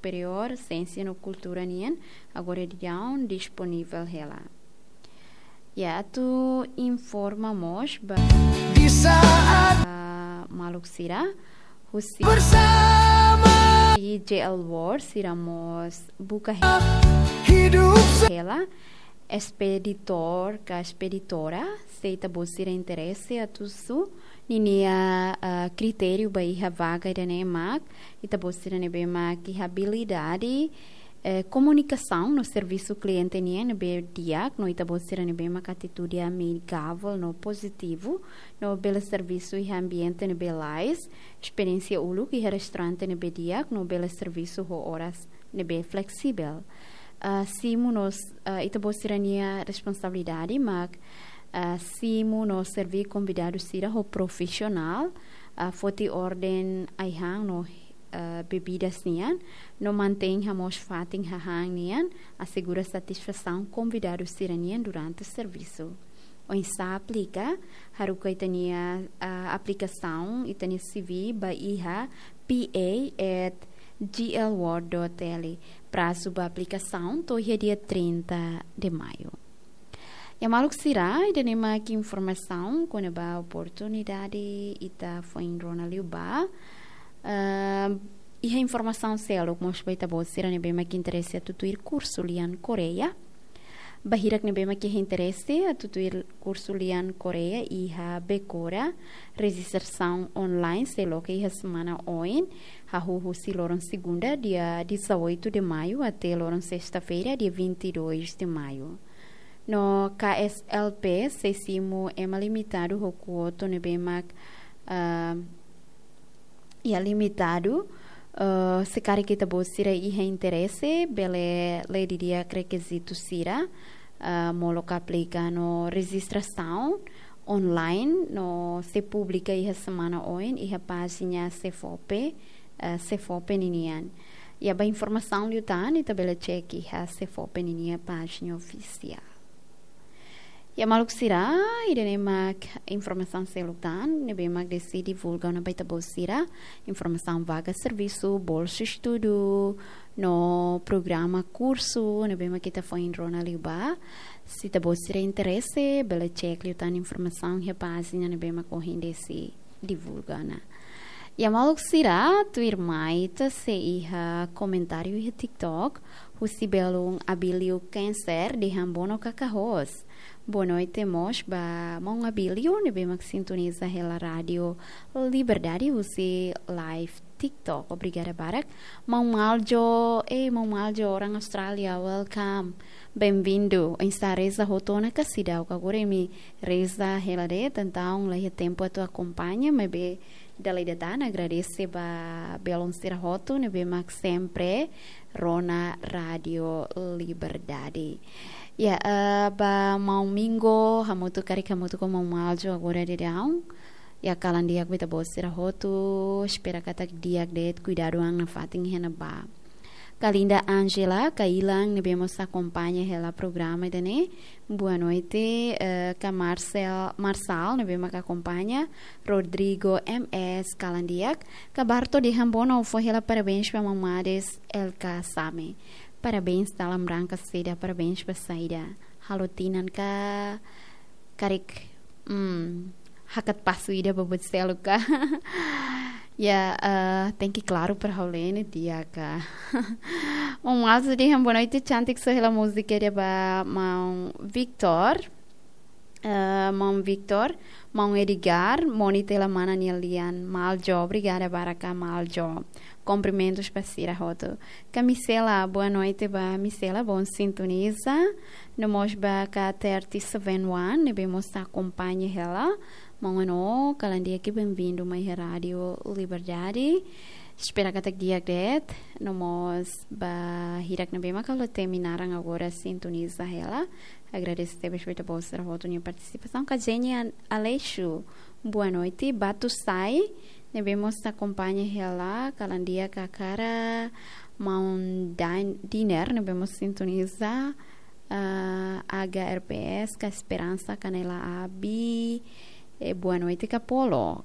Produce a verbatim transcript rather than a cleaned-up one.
Superiór Siénsia no Kultura nian, agora daudaun disponivel hela. Ya, atu informa mós ba, di saat ba maluk sira, husi bersama di J L World, sira mós buka he-, hidup se- hela, espeditór ka espeditora, se ita-boot sira interese atu husu ninia, ah, kritériu ba iha vaga ida-ne'e mak, ita-boot sira ne'ebé mak iha abilidade, eh, komunikasaun no servisu kliente nian ne'ebé di'ak, no ita-boot sira ne'ebé mak atitude amigavel no pozitivu, no bele servisu iha ambiente ne'ebé lais, esperiénsia uluk iha restaurante ne'ebé di'ak, no bele servisu ho oras ne'ebé fleksibel. Ah, simu no s-, ah, ita-boot sira-nia responsabilidade mak, ah, simu no serví konvidadu sira ho profisionál, ah, foti orden ai-han no, ah, bebidas nian, no mantein hamoos fatin hahán nian, asegura satisfasaun konvidadu sira-nian durante servisu. Oinsá aplika, haruka ita-nia, ah, aplikasaun, ita-nia C V ba iha P A at G L world dot L. Prazu ba aplikasaun to'o iha dia trinta de maio. Ya maluk sira, ida-ne'e mak informasaun kona-ba oportunidade ita foin rona liubá. Ah, iha informasaun seluk mós ba ita-boot sira ne'ebé mak interese atu tuir kursu lian Koreia. Ba hirak ne'ebé mak iha interese atu tuir kursu lian Koreia iha Bekora, rejistrasaun online sei loke iha semana oin, hahú husi loron segunda, dia dezoito de maio, até loron sesta-feira, dia vinte e dois de maio. No K S L P sei simu ema limitadu ho kuota ne'ebé mak, ah, ya limitadu, eh, se karik ita-boot sira iha interese, bele lee didi'ak rekizitu sira, eh, molok aplika no rejistrasaun online, no sei publika iha semana oin iha pájina SEFOPE, eh, SEFOPE ninian. Ya ba informasaun liután, ita bele cek iha SEFOPE ninia pájina ofisiál. Ya maluk sira, ida-ne'e mak informasaun seluk tan ne'ebé mak Desi divulga ona ba ita-boot sira, informasaun vaga servisu, bolsa estudu, no programa kursu ne'ebé mak ita foin rona liubá. Se ita-boot sira interese, bele cek liután informasaun iha pájina ne'ebé mak ohin Desi divulga ona. Ya maluk sira, tuirmai ita sei iha komentáriu iha TikTok, husi belun Abílio Cancer dehan bono kaka-host. Boa noite mós ba maun Abílio ne'ebé mak sintoniza hela Rádio Liberdade husi live TikTok. Obrigada barak. Maun Maljo, eh, maun Maljo, orang Austrália, welcome. Bem-vindo. Oinsá reza hotu ona ka seidauk? Agora imi reza hela de'it, entaun laiha tempu atu akompaña, maibé dala ida tan agradese ba belun sira hotu ne'ebé mak sempre rona Rádio Liberdade. Ya, eh, ba maun Mingo, hamutuk, karik hamutuk ho maun Maljo agora daudaun. Ya, kalan di'ak ba ita-boot sira hotu, espera katak di'ak de'it, kuidadu an nafatin iha ne'ebá. Kalinda Angela, Kailang, ne'ebé mós akompaña hela programa ida-ne'e. Boa noite, eh, ka Marcel, Marçal, ne'ebé mak akompaña. Rodrigo M S, kalan di'ak. Ka Barto dehan bono, fó hela parabéns ba maun Mades L K Same. Parabéns dalam rangka saida, parabéns ba saida? Halo tinan ka, karik, hmm, hakat pasu ida ba buat seluk ka? Ya, eh, tenke klaru para ha'u lee ne'e di'ak ka. Maun Maljo dehan boa noite, cantik, só hela múzika ida ba maun Victor. Eh, maun Victor, maun Edgar, moni tela mana nia lian. Maljo, obrigada barak ka Maljo. Kumprimentus ba sira hotu. Ka Misela, boa noite ba Misela, bom sintoniza. No mós ba ka thirty seven one, ne'ebé mós akompaña hela. Maun Ano, kalan di'ak, bem-vindo mai Rádio Liberdade. Espera katak di'ak de'it. No mós ba hirak ne'ebé mak halo temi naran agora sintoniza hela. Agradese tebes ba ita-boot sira hotu nia partisipasaun. Ka Jenny An-, Aleixo, boa noite. Batusai, ne'ebé mós akompaña hela, kalan di'ak ka Kara, maun Dan-, Diner, ne'ebé mós sintoniza, ah, H R P S, ka Esperança, Canela Abi, eh, boa noite, ka Polo.